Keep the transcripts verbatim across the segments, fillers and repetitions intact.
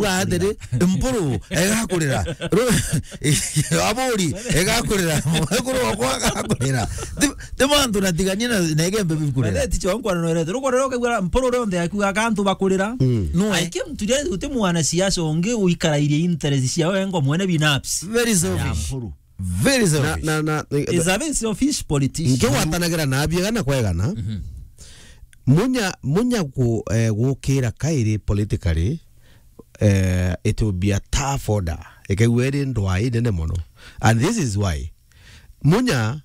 Kuga atiri, Mpuru egakurira. Ru-, Aburi egakurira. Mwekuru wakwa agakurira. Ti, ti mantu natiganie na, na Igembe bikurira. Ati cho nkwana no rete. Rukorero kagwa Mpuru rionthe akiuga kantu bakurira. Mm. No, eh. Aike mtu ria uti mwana siasa ungi uikarairie interest cia wengo mwene binafsi. Very selfish. Mpuru. Very selfish. Na, na, na, is a very selfish politician. Ngigwatanagira na biega na kwegana. Mhm. Munya, Munya ku, eh, gukira kairi politically, eh, it will be a tough order. Ikaigua iri ndwaa inene mono. And this is why. Munya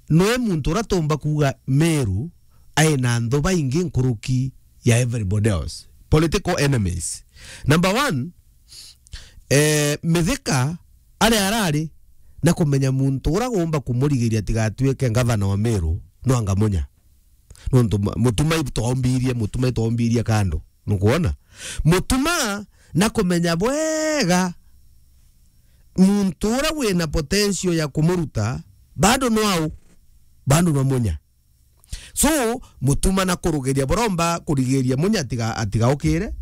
nwe muntu uria tumba kuuga Meru aina anthu baingi nkuruki ya everybody else. Political enemies. Number one, eh, Mithika aria arari na kumenya muntu uria gumba kumurigiria tigatuike ngavana wa Meru, no anga Munya. Nontu ma-, Mutuma itwaumbirie, Mutuma itwaumbirie kando. Nukwona? Mutuma na kumenya bwega muntu uria wina potential ya kumuruta, bado no au, bado no Munya. So, Mutuma na kurugeria buromba kurigiria Munya atiga-, atigaukire.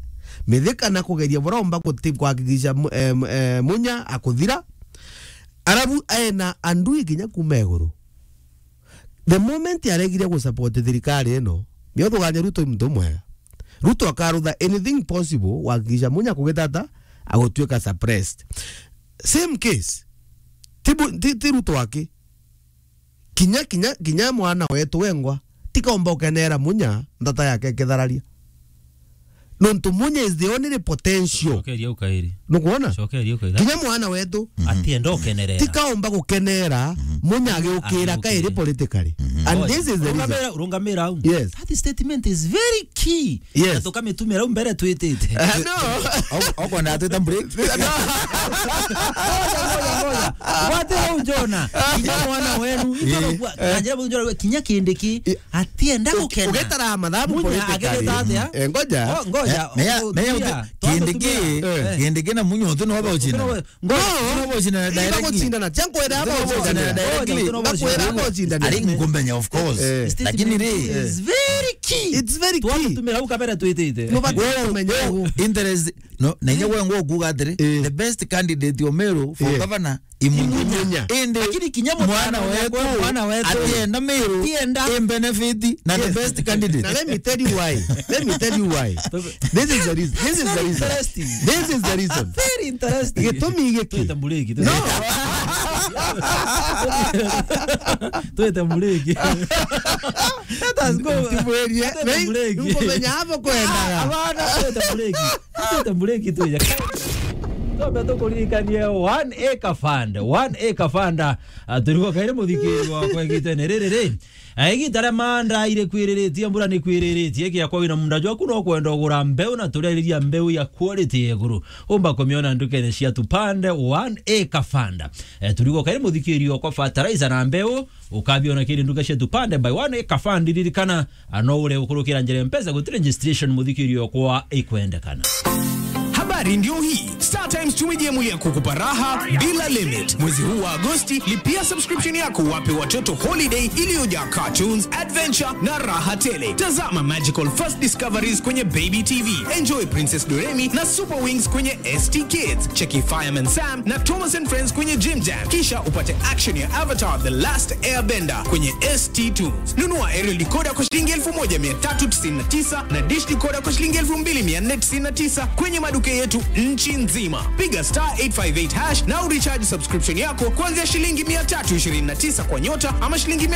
Mithika na kugeria buromba kuti-, kuhakikisha Mu-, eh, Mu-, eh, Munya akuthira. Arabu ena andui kinya kuma iguru. The moment aregire gusupport thirikari ino, nio thugania Ruto i muntu mwega. Ruto akarutha anything possible kuhakikisha Munya kugitata agutuika suppressed. Same case. Ti bu-, ti, ti Ruto aki. Kinya, kinya, kinya mwana wetu wengwa, tikaomba ukenera Munya, ndata yake ikithararia. Nontu Munya is the only potential. Cokeria ukairi. Nukwona? Cokeria ukairi. Kinya mwana wetu. Atienda ukenerera. Tikaomba gukenera, Munya agiukira kairi politically. And this is the reason. Rungamira, rungamira au. Yes. That statement is very key. Yes. Na tukamitumira au mbere twitite. Ah, no. Au, au kwenda atwita break. Ngoja, ngoja, ngoja. Wate au Jona. Kinya mwana wenu. Itoro kwa, kanjira bu Jona, kinya Kindiki. Atienda gukena. Ugetara mathabu politically. Ageta atia? Eh, ngoja. Oh, ngoja. Eh, meya, meya, Kindiki, Kindiki na Munya uti no bauchina. Ngoja, no bauchina direct. Baguchindana, tia nkwenda baguchindana. Bakwira baguchindana. Ari nkumenya, of course. Lakini ri, it's very key. It's very key. Twatumira au kabera twitite. Mubati kumenya au. Interest, no, na inya gwe ngo kuga atiri, the best candidate o Meru for governor Imunya. Imunya. Indi lakini kinya mwana wetu, mwana wetu atienda Meru, atienda. I benefit na the best candidate. Now let me tell you why. Let me tell you why. This is the reason. This is the reason. Interesting. This is the reason. Very interesting. Gitumi giki. Twete muriki, no. Twete muriki. Let us go. Twete muriki. Nkumenya hapo kwenda. Abana, twete muriki. Twete muriki tuya. Twambe tukuririkanie One Acre Fund. One Acre Fund. Ah, turigo kairi muthikiri wa kwa igitene riri ri. Ah, igita ria manda ire kwiriritie, mbura ni kwiriritie, kia kwa wina munda jwaku no kwenda ugura mbeu na tureriria mbeu ya quality ya iguru. Umba kumiona ndukene cia Tupande One Acre Fund. Eh, turigo kairi muthikiri wa kwa fertilizer na mbeu. Ukabiona kiri nduka cia Tupande by One Acre Fund. Ririkana, ah, no ure gukurukira njira ya Mpesa, guti registration muthikiri okwa ikwendekana. Habari ndio hii. Star Times tumejiemulia kukupa raha bila limit. Mwezi huu wa Agosti, lipia subscription yako, wape watoto holiday iliyojaa cartoons, adventure na raha tele. Tazama Magical First Discoveries kwenye Baby T V. Enjoy Princess Doremi na Super Wings kwenye S T Kids. Cheki Fireman Sam na Thomas and Friends kwenye Jim Jam. Kisha upate action ya Avatar The Last Airbender kwenye S T Tunes. Nunua aerial decoder kwa shilingi elfu moja mia tatu tisini na tisa na dish decoder kwa shilingi elfu mbili mia nne tisini na tisa kwenye maduka yetu nchi nzima. Piga star eight five eight hash na urecharge subscription yako kuanzia shilingi mia tatu ishirini na tisa kwa nyota ama shilingi mia